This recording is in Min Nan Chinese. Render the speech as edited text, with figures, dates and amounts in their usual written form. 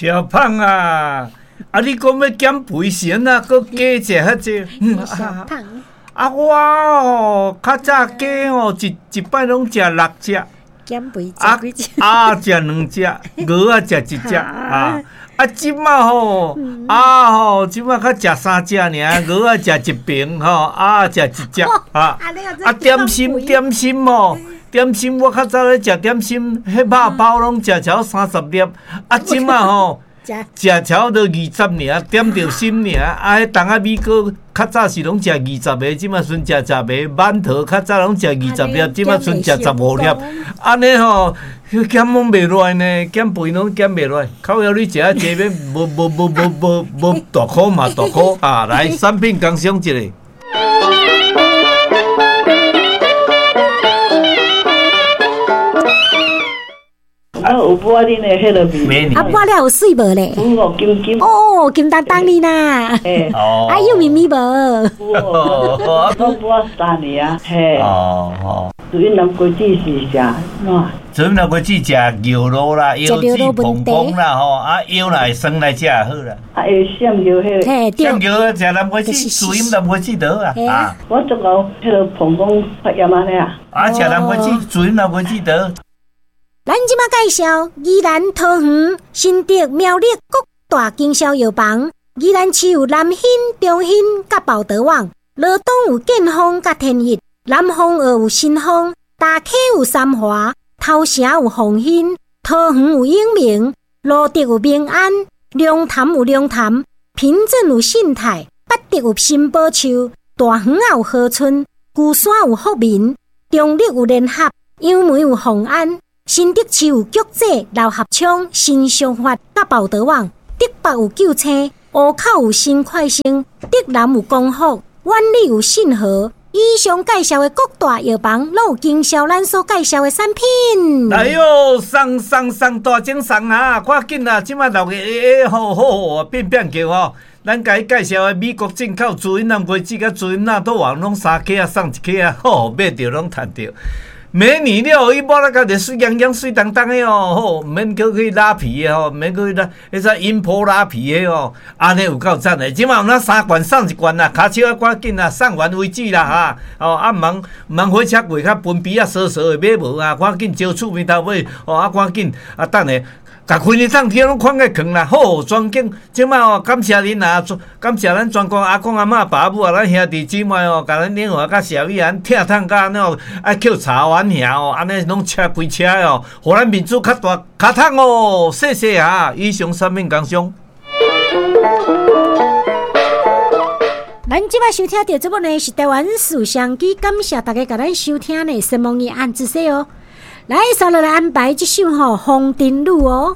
小胖啊，啊你講欲減肥是按怎閣加食遐濟？小胖，啊我哦，較早雞哦，一一擺攏食六隻。減肥啊食幾隻？鴨食兩隻，鵝仔食一隻啊！啊，這馬吼，啊吼，這馬較食三隻爾，鵝仔食一爿吼，鴨食一隻啊！啊，點心點心吼，點心我較早咧食點心，彼肉包攏食超三十粒，啊，這馬吼。食超著二十爾，點著心爾。啊，彼筒仔米糕較早是攏食二十个，這馬剩食十个。饅頭較早攏食二十粒，這馬剩食十五粒。按呢吼，減攏袂落來呢，減肥攏減袂落來。靠腰你食啊濟欲無無無無無無大箍嘛大箍啊！來，產品工商一下。啊，有抹恁的彼个面，啊，抹了有媠無咧？有金金。哦，金當當哩啦。哦。啊，有咪咪無？有哦，我抹三年啊，嘿。哦哦。自云南果子是食哪？自云南果子食牛肉啦，腰子膨膨啦吼，啊腰若会酸來食好啦。啊，會閃尿彼个。嘿，對。閃尿食南瓜子，自云南瓜子就好啊。啊。我足𠢕彼个膀胱發炎按呢啊。啊，食南瓜子，自云南瓜子就好。咱這馬介紹宜蘭桃園、新竹、苗栗各大經銷藥房。宜蘭市有南興、中興佮寶德網，羅東有建豐佮天一，南豐澳有新豐，大溪有三華，頭城有鳳興，桃園有永明，蘆竹有民安，龍潭有龍潭，平鎮有信泰，八德有新寶樹，大園仔有和春，龜山有福民，中壢有聯合，楊梅有鳳安。新竹市有菊姐、劉合昌、新商發、佮寶德網；竹北有救星，湖口有新快星，竹南有光福，苑里有信和。以上介紹的各大藥房，攏有經銷咱所介紹的產品。哎喲，送送送大獎送啊！趕緊啊！這馬鬧熱欸好好變變叫吼。咱共伊介紹的美國進口自雲南果子佮自雲納多王，攏三克仔送一克仔，好買著攏趁著。美女了，伊抹了甲就媠洋洋、媠當當的哦，好，毋免閣去拉皮的吼，毋免閣去拉，彼啥音波拉皮的哦，按呢有夠讚的。這馬有咱三罐送一罐啦，跤手仔趕緊啦，送完為止啦哈。哦，啊，毋通毋通火車過較分皮仔趖趖的買無啊，趕緊招厝邊頭買，哦，啊，趕緊啊，等下。共開呢當天攏看個囥啦，好，全景這馬哦，感謝恁啊，感謝咱全國阿公阿嬤、爸母啊，咱兄弟姊妹哦，共咱領和佮社會啊，疼痛甲按呢哦，愛扣柴阮兄哦，按呢攏車規車哦，予咱面子較大較通哦，謝謝啊，以上產品工商。咱這擺收聽著節目呢，是台灣事相機，感謝大家共咱收聽呢，神夢伊按姿勢哦。來，接落來安排這首吼《風塵女》哦。